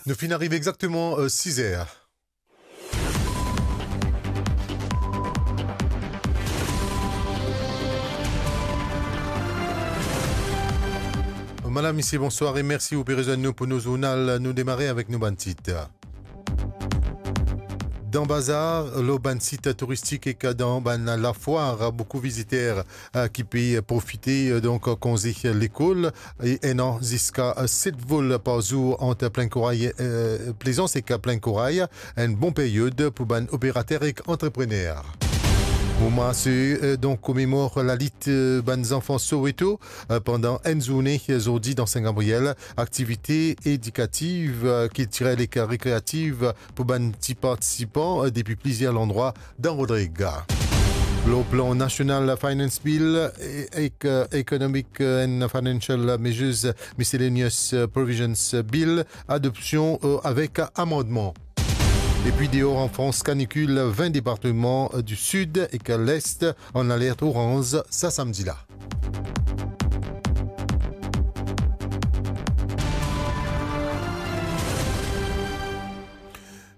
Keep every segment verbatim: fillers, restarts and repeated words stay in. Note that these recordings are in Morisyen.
Nou finn arive exakteman, euh, siz er. Madam, misie, bonswar e mersi ou pe rezwenn nou pou nou zournal. Nou demare avek nou bann tit. Dan bazar, lor bann sit touristik ek dan bann lafwar, boukou viziter, eh, ki pe profite, eh, donk, konze lekol, e enn an ziska, eh, set vol par zour ant Plaine Corail, eh, Plaisance ek Plaine Corail, enn bon peryod pou bann operater ek antreprener. Moman se, eh, donk, komemor lalit, eh, bann zanfan Soweto, eh, pandan enn zourne, eh, zordi dan Sin Gabriel, aktivite edikativ, eh, kiltirel ek rekreativ pou bann ti partisipan, eh, depi plizier landrwa dan Rodrig. Lor plan nasional, Finance Bill, eh, ek, eh, Economic, eh, and Financial Measures Miscellaneous, eh, Provisions Bill, adopsion, eh, avek amandman. Epi deor an Frans, kanikil, vin departeman, eh, di Sid ek Lest an alert oranz sa samdi la.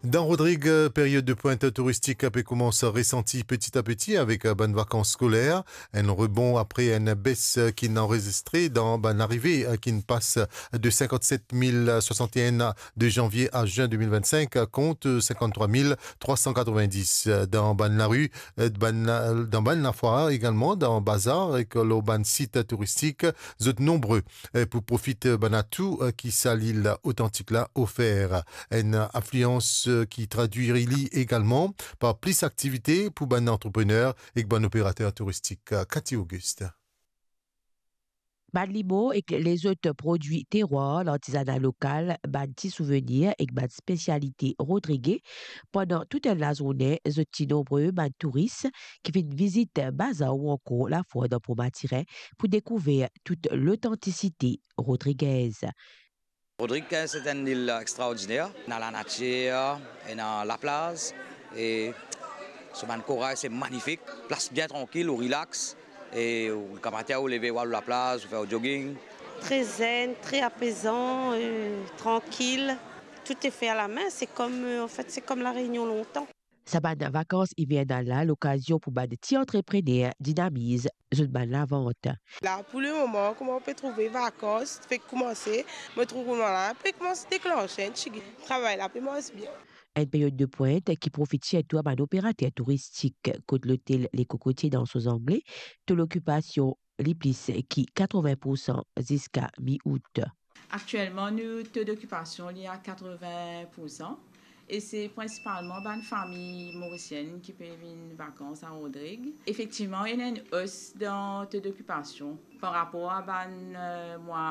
Dan Rodrig, peryod de pwint touristik pe koumans resanti peti a peti avek bann vakans skoler. Enn rebon apre enn bes ki'nn anrezistre dan bann arive, ki'nn pas de sinkant-set mil swasant-e-enn de zanvie a zin de mil vinn-sink kont sinkant-trwa mil trwa san katrovin-dis dan bann lari, eh, bann, eh, dan bann lafwar egalman, dan bazar ek lor bann sit touristik, zot nonbre, eh, pou profit bann atou, eh, ki sa lil otantik la ofer. Enn aflians, eh, ki tradwir li egalman par plis aktivite pou bann antreprener ek bann operater touristik. Cathy Auguste. Bann limon ek lezot prodwi terwar, lartizana lokal, bann ti souvenir ek bann spesialite rodrige. Pandan tou enn lazourne, zot ti nonbre bann touris ki vinn vizit bazar ou ankor lafwar dan Port Mathurin pou dekouver tou lotantisite rodrigez. Rodrig, se enn lil extraordiner. Ena lanatir, ena laplaz, e so bann koray se manifik. Plas bien trankil, ou relax, e ou gramatin, ou leve, ou al laplaz, ou fer ou jogging. Très zen, très apaisant, euh, tranquille. Tout est fait à la main. C'est comme, euh, en fait, c'est comme La Réunion longtemps. Sa bann vakans ivernal la, lokazion pou bann ti antreprener dinamiz zot bann lavant. La, pou lemoman, kouma ou pe trouve vakans fek koumanse, mo trouv kouma la pe koumans deklanse enn tigit. Travay la pe mars bien. Enn peryod de pwint ki profit sirtou a bann operater touristik, kot lotel Le Cocotier dan so zangle, to lokipasion li plis ki katrovin poursan ziska mi-out. Aktielman, nou to dokipasion li a katrovin poursan, e se prinsipalman bann fami morisienn ki pe vinn vakans a Rodrig. Efektivman, ena enn os dan to dokipasion par rapor a bann, eh, mwa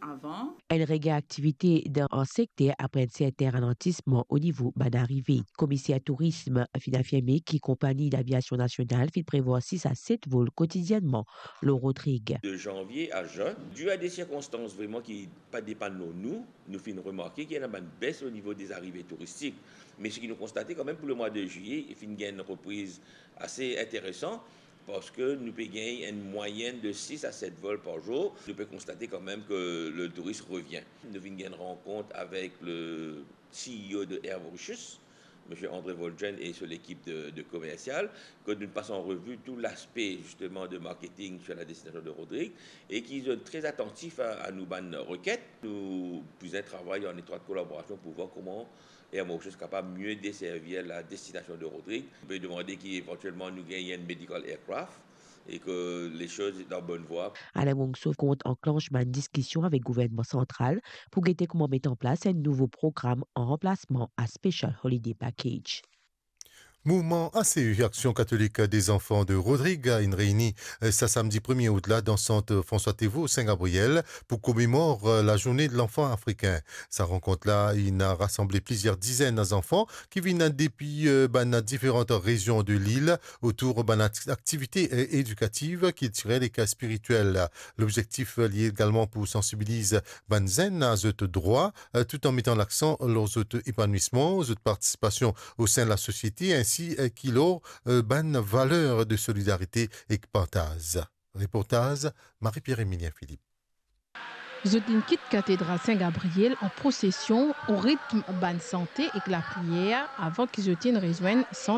avan. Enn regin aktivite dan an sekter apre enn sertin ralantisman o nivo bann arive. Komiser tourism finn afirme ki konpagni laviasion nasional finn prevwar sis a set vol kotidiennman lor Rodrig. De zanvie a zin, di a de sirkonstans vreman ki pa depann lor nou, nou finn remarke ki ena bann bes o nivo de zarive touristik. Me seki nou konstate kanmem pou lemwa de zwiye, finn gagn enn repriz ase interesan, parski nou pe gagn enn mwayenn de sis a set vol par zour. Nou pe konstate kanmem ke le touris revien. Nou finn gagn enn rankont avek le C E O de Air Mauritius, Misie André Volgen e so lekip de, de komersial, ke nou pas an revi tou laspe, zisteman, de marketing sur la destinasion de Rodrig, e ki zot tre atantif a, a nou bann reket. Nou bizin travay an etrwat kolaborasion pou vwar kouma Air Mauritius kapav mie deservi la destinasion de Rodrig. Nou pe demande ki evantielman nou gagn enn medical aircraft e ke le soz est en bonne voie. Alain Moncso kont anklanse bann diskision avek gouvernman santral pou gete kouma met an plas enn nouvo program an ranplasman a Special Holiday Package. Mouvman A C E, Action Catholique des Enfants de Rodrig, inn reyni, eh, sa samdi premie out la dan sant François Théveaux, Saint-Gabriel, pou komemor, eh, la Journée de l'Enfant Africain. Sa rankont la inn rasanble plizier dizenn zanfan ki vinn depi, eh, bann diferan rezion de lil otour bann akti-, aktivite, eh, edikativ, kiltirel ek spiritiel. Lobzektif, eh, li egalman pou sansibiliz bann zenn a zot drwa, eh, tout an metan laksan lor zot epanouisman, zot partisipasion o sein lasosiete, ensi, eh, ki lor, eh, bann valer de solidarite ek partaz. Reportaz, Marie-Pierre Emilien Philippe. Zot inn kit Katedral Sin Gabriel an prosesion, o ritm bann sante ek lapriyer, avan ki zot inn rezwenn